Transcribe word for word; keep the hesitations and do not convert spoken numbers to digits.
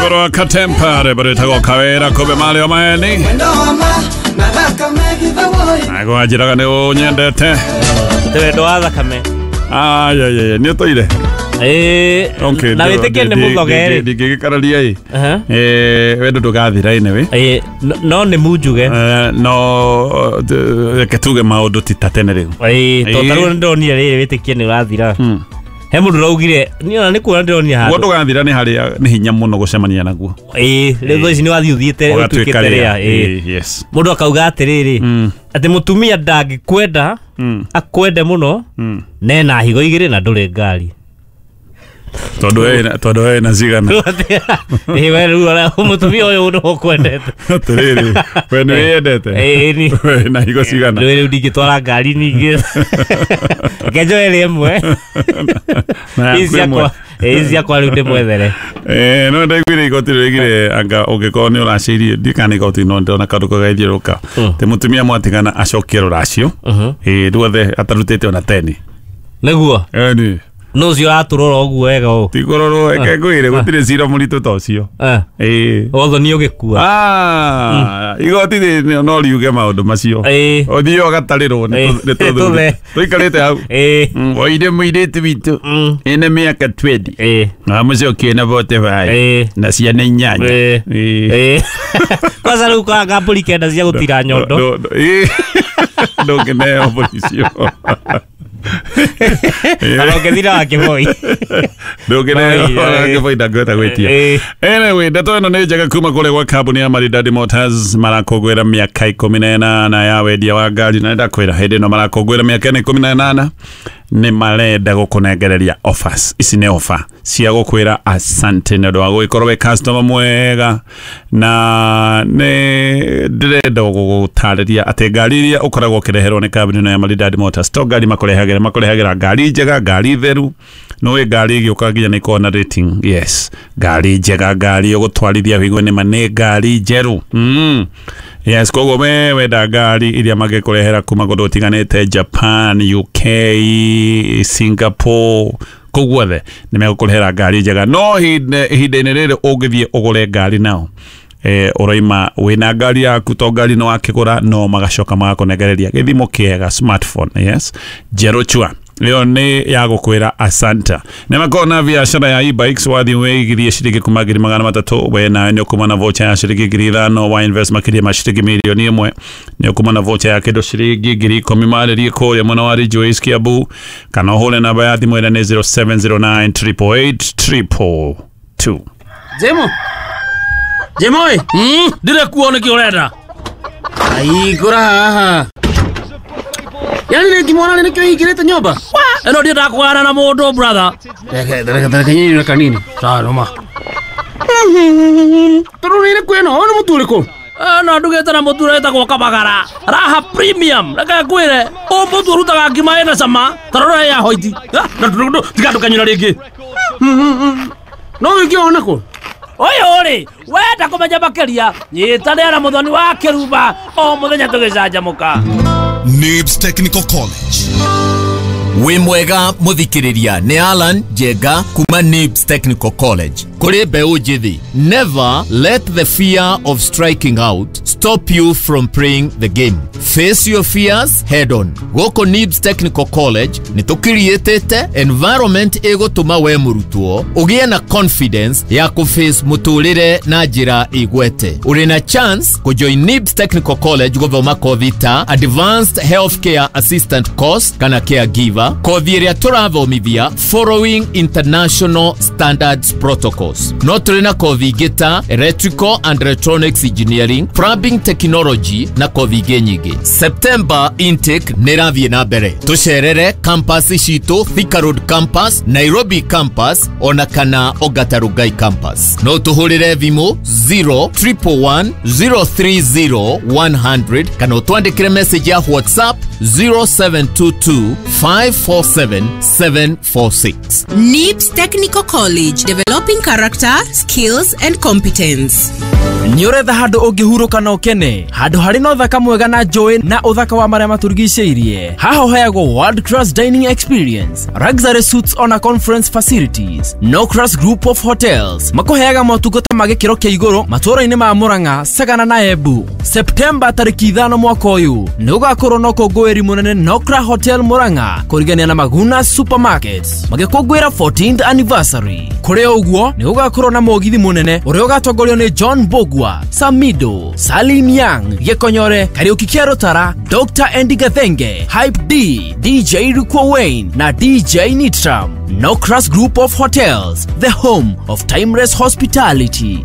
Rwĩmbo rwa Katempa, rwĩmbo rwĩtagwo Kawĩra kumbe marĩo maeni. Naguo anjĩraga nĩ ũnyendete. Nĩ wendo wa thakame. Ayayaya, nĩ ũtũire? Ĩĩ. Okay, na wĩtĩkie nĩ mũthoge rĩ. Ndingĩgĩkararia ĩ. Eh, wendo ndũgathira anyway. Ĩĩ, no nĩ munjuge. No reke tuge maũndũ ti ta tene rĩu. Ĩĩ, to ta rĩu nĩndonire rĩrĩ wĩtĩkie nĩ ũrathira. He mũndũ ũraugire, niĩ ona nĩ kuona ndĩronire handũ. Guo ndũgathira nĩ harĩa nĩ hinya mũno gũcemania naguo. Ĩĩ, rĩu thaa ici nĩ wathiĩ ũthiĩte ũtuĩkĩte rĩa. Ĩĩ, yes. Mũndũ akauga atĩrĩrĩ, atĩ mũtumia ndangĩkwenda, akwende mũno, na ena higo igĩrĩ na ndũrĩ ngari. Tondũ ena tondũ ena cigana. Ĩĩ, we rĩu ũrĩa mũtumia ũyũ nĩ ũkwendete. Atĩrĩrĩ, we nĩ wĩyendete? Ĩĩ, ni. We na higo cigana? Rĩu ndingĩtwara ngari ningĩ. Reke njoe rĩmwe. Ici ciakwa, ici ciakwa rĩu ndĩmwethere. Eh, no ndaiguire igoti rĩgire anga ũngĩkorwo nĩ ũracĩirie, ndiũĩ kana nĩ igoti no ndĩrona kaũndũ kagaithiũrũrũka. Atĩ mũtumia mwatigana acokie rũracio. Ĩĩ, ruothe atarutĩte ona teni. Nĩguo? Ĩni. No ũcio ũratũrora ũguo wega ũũ. Ti kũrorwo, reke ngwĩre gũtirĩ cira mũritũ ta ũcio. Ĩĩ. Wathoni ũgĩkua. Ah, igoti no riuge maũndũ macio. Ĩĩ. Ũthiĩ ũgatarĩrwo nĩ tũthuri. Tũikarĩte hau. Ĩĩ. Woire mũirĩtu witũ. Ena mĩaka twenty. Ĩĩ. Na mũcokie na forty five. Ĩĩ. Na ciana inyanya. Ĩĩ. Ĩĩ. Ĩĩ. Kwanza rĩu kwanga mbũri kenda cia gũtira nyondo. Ĩĩ. Ndũngĩneo mbũri icio. Kana ũngĩthira wa Kĩboi. Ndũngĩneo wa Kĩboi ndangĩhota gwĩtia. Anyway, ndeto ĩno nĩ njega kuma kũrĩa gwa kambuni ya Maridadi Motors marakũngũĩra mĩaka ikũmi na ĩnana ya wendia wa ngari, na ndakwĩra hĩndĩ ĩno marakũngũĩra mĩaka ĩno ikũmi na ĩnana nĩ marenda gũkũnengereria offers. Ici nĩ offer cia gũkwĩra asante nĩ ũndũ wa gũgĩkorwo wĩ customer mwega, na nĩ ndĩrenda gũgũtarĩria atĩ ngari iria ũkoragwo ũkĩreherwo nĩ kambuni ĩno ya Maridadi Motors to ngari makũrehagĩra, makũrehagĩra ngari njega, ngari theru. Nĩũĩ ngari ĩgĩũka nginya nĩ ĩkoragwo na rating. Yes, ngari njega, ngari ũgũtwarithia wĩigue nĩma nĩ ngari njerũ. Mm. Yes, koguo we wenda ngari iria mangĩkũrehera kuma kũndũ gũtiganĩte, Japan, U K, Singapore, kũu guothe nĩ megũkũrehera ngari njega. No ihinda-inĩ rĩrĩ ũngĩthiĩ ũgũre ngari nao, eh, ũraima wĩna ngari yaku, to ngari no wakĩgũra, no magacoka magakũnengereria gĩthimo kĩega, smartphone, yes, njerũ chua. Ĩyo nĩ ya gũkwĩra asante. Nĩ makoragwo na biacara ya e-bikes, wathiĩ wĩigithie ciringi kuma ngiri magana matatũ, we nawe nĩ ũkuma na voucher ya ciringi ngiri ithano, wa invest makĩria ma ciringi mirioni ĩmwe nĩ ũkuma na voucher ya kĩndũ ciringi ngiri ikũmi. Marĩrie kũrĩa mwena wa Ridgeways Kiambu, kana ũhũre namba ya thimũ ĩrĩa nĩ zero seven zero nine triple eight triple two. Jemo. Jemo ĩ. Ndirĩ kuo nĩkĩ ũrenda? Ai, ngũra haha. Yaani nĩ ngimwona nĩkĩo hingĩrĩte nyũmba? Ĩno ndiendaga kũgayana na mũndũ brother. Reke reke nyinyi kanini. Sawa noma. Tondũ nĩ ĩrĩkũ ĩno? Ũyũ nĩ mũtu ũrĩkũ? Ĩno ndugĩte na mũtu ũrĩa wĩtagwo Kabagara. Raha Premium. Reke ngwĩre, ũyũ mũtu ũrutaga ngima ĩna cama, ta rora ya hoiti. Na tiga ndũkanyũra rĩngĩ. No wĩke ona kũ? Ũyũ rĩ, wenda kũmenya makĩria, nyitanĩra na Mũthoni wa Kĩrumba o mũthenya tũgĩcanjamũka. Nibs Technical College. Wĩ mwega mũthikĩrĩria, nĩ Alan Njenga kuma Nibs Technical College. Kũrĩ mbeũ njĩthĩ, never let the fear of striking out stop you from playing the game. Face your fears head on. Gũkũ Nibs Technical College nĩ tũkiriĩtĩte environment ĩgũtũma we mũrutwo ũgĩe na confidence ya kũface mũtũrĩre na njĩra ĩgwete. Ũrĩ na chance kũjoin Nibs Technical College gũthoma kothi ta Advanced Healthcare Assistant Course kana Caregiver, kothi ĩrĩa tũrathomithia following international standards protocols. No tũrĩ na kothi ingĩ ta Electrical and Electronics Engineering, Plumbing Technology na kothi ingĩ nyingĩ. September intake nĩ ĩrathiĩ na mbere. Tũcerere campus citũ, Thika Road campus, Nairobi campus ona kana Ongata Rongai campus. No tũhũrĩre thimũ zero triple one zero three zero one hundred kana ũtwandĩkĩre message ya WhatsApp zero seven two two, five four seven, seven four six. N I B S Technical College, developing character, skills and competence. Nĩ ũretha handũ ũngĩhurũka na ũkene, handũ harĩ na ũthaka mwega na njũĩ na ũthaka wa marĩa matũrigicĩirie. Haha ũheagwo world class dining experience, luxury suites ona conference facilities. No Class Group of Hotels makũheaga motungata ma gĩkĩro kĩa igũrũ matũũra-inĩ ma Murang'a, Sagana na Embu. Septemba tarĩki ithano mwaka ũyũ nĩ gũgakorwo na ũkũngũĩri mũnene Nokra Hotel Murang'a kũrigania na Maguna Supermarket magĩkũngũĩra fourteenth anniversary. Kũrĩ ũguo nĩ gũgakorwo na mũgithi mũnene ũrĩa ũgatongorio nĩ John Bogwa, Samido, Salim Young, Gĩkonyore, Kariuki Kĩarũtara, Doctor Andy Gathenge, Hype D, D J Rukwa Wayne na D J Nitram. Nokras Group of Hotels, the home of timeless hospitality.